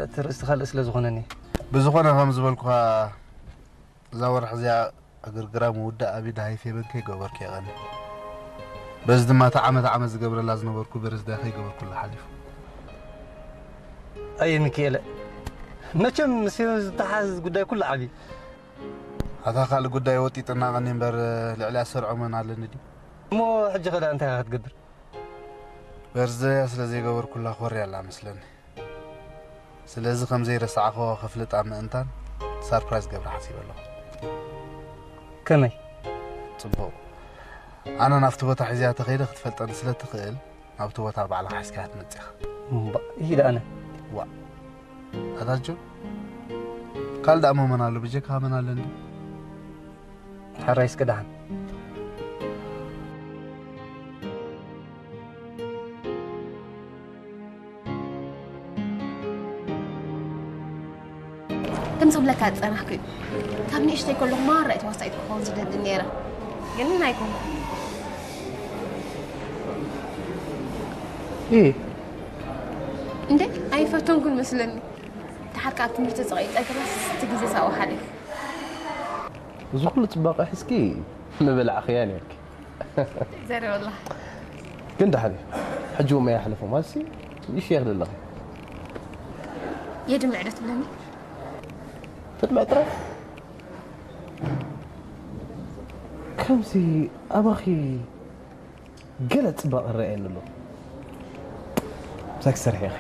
እቲ ርእስቲ ካልእ ስለ ዝኾነኒ። ብዝኾነ ከም ዝበልኩኻ እዛ ወርሒ እዚኣ ዕግርግራ ምውዳእ ኣብ ኢድ ሃይፌ በንከይ ገበርኩ የቐኒ። በዚ ድማ እቲ ዓመት ዓመት ዝገብረላ ዝነበርኩ በርዝዳይ ከይገበርኩላ ሓሊፉ። ኣየ ሚካኤለ፣ መቸም ምስ ሄኖስ ዝተሓዝ ጉዳይ ኩሉ ዓብዪ። ኣታ ካልእ ጉዳይ ወጢጥና ቀኒ እምበር ልዕሊኣ ዝሰርዖ መን ኣለኒ ድዩ? እሞ ሕጂ ኸዳ እንታይ ኢኻ ክትገብር? በርዝዳያ ስለ ዘይገበርኩላ ኮርያ ኣላ መስለኒ። ስለዚ ከም ዘይረሳዕኽዎ ከፍልጣ ምእንታን ሳርፕራይዝ ገብራ ሓሲበ ኣለኹ። ከመይ? ጽቡቕ። ኣነ ናብቲ ቦታ ሒዝያ ተኸይደ ክትፈልጠኒ ስለ ትኽእል ናብቲ ቦታ ባዕልኻ ሒዝካያ ክትመጽእ ኢኻ። እምባ፣ ይሂድ ኣነ። ዋ። ኣታ ጆን፣ ካልእ ደኣ መን ኣሎ? ብጀካ መን ኣለኒ? ሕራይ እስከ ደሓን። ከም ዝብለካ ዝጸናሕኩ እዩ። ካብ ንእሽተይ ከለኹ ማራ እየ ተዋሳኢት ክኸውን ዝደሊ ነይረ። ግን ኣይኮንኩ። እ? እንዴ፣ ኣይፈተንኩን መስለኒ። ደሓር ካብ ትምህርቲ ተጸቒጠ ግናስ እቲ ግዜ ሳብኡ ሓሊፉ። እዚ ኩሉ ጽባቐ ሒዝኪ ምብላዕኽያ ነይርኪ። ዘረበላ። ግን ደሓን እዩ። ሕጂ እውን መያ ሓለፎ ማለትሲ ንእሽቶ እየ ክደለኺ። የድምዕ ዶ ትብለኒ? ተድምዕ ጥራይ? ከምዚ ኣባኺ ገለ ጽባቐ ይረኣየኒ ኣሎ። ምሳይ ክትሰርሒ ኢኺ።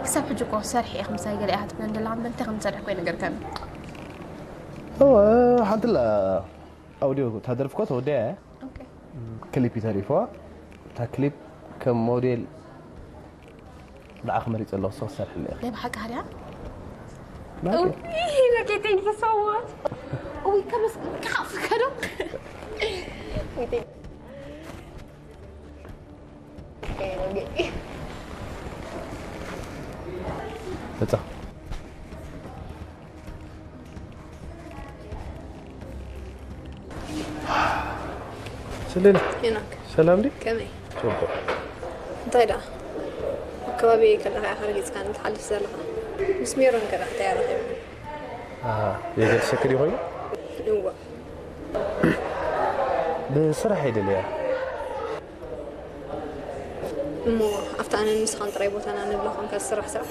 ክሳብ ሕጂ እኮ ሰርሒ ኢኺ ምሳይ ገለ ኢኻ ትብለኒ ዘለኻ እምበር እንታይ ከም ዝሰርሕ እኮ ኣይነገርካኒ። እወ፣ ሓንቲ ኣላ ኣውዲዮ እታ ደርፊ እኮ ተወዲኣ እያ። ኦኬ። ክሊፕ እዩ ተሪፍዋ። እታ ክሊፕ ከም ሞዴል ንዓኺ መሪጸ ኣለኹ፣ ንስኺ ክትሰርሕለይ ኢኺ። ናይ ብሓቂ ሃርያ? ናይ ብሓቂ። Okay, thank you so much. ኡይ፣ ከመስ-፣ ክሓፍከ ዶ? ኡይ፣ thank you. Okay, okay. መጻ። ሰሌና። ሄኖክ። ሰላም ድዩ? ከመይ? ጽቡቕ። እንታይ ደኣ? ኣብ ከባቢ ከለኻ ኢኻ ረጊጽካኒ ትሓልፍ ዘለኻ። ምስ ሜሮን ከ ደኣ እንታይ ኣረኺብካ? ኣሃ፣ የገድሰኪ ድዩ ኮይኑ? እወ። ብስራሕ እየ ደልያ። እሞ ኣብታ ኣነን ንስኻን ጥራይ ቦታና ንብሎ ኮንካ ዝስራሕ ስራሕ?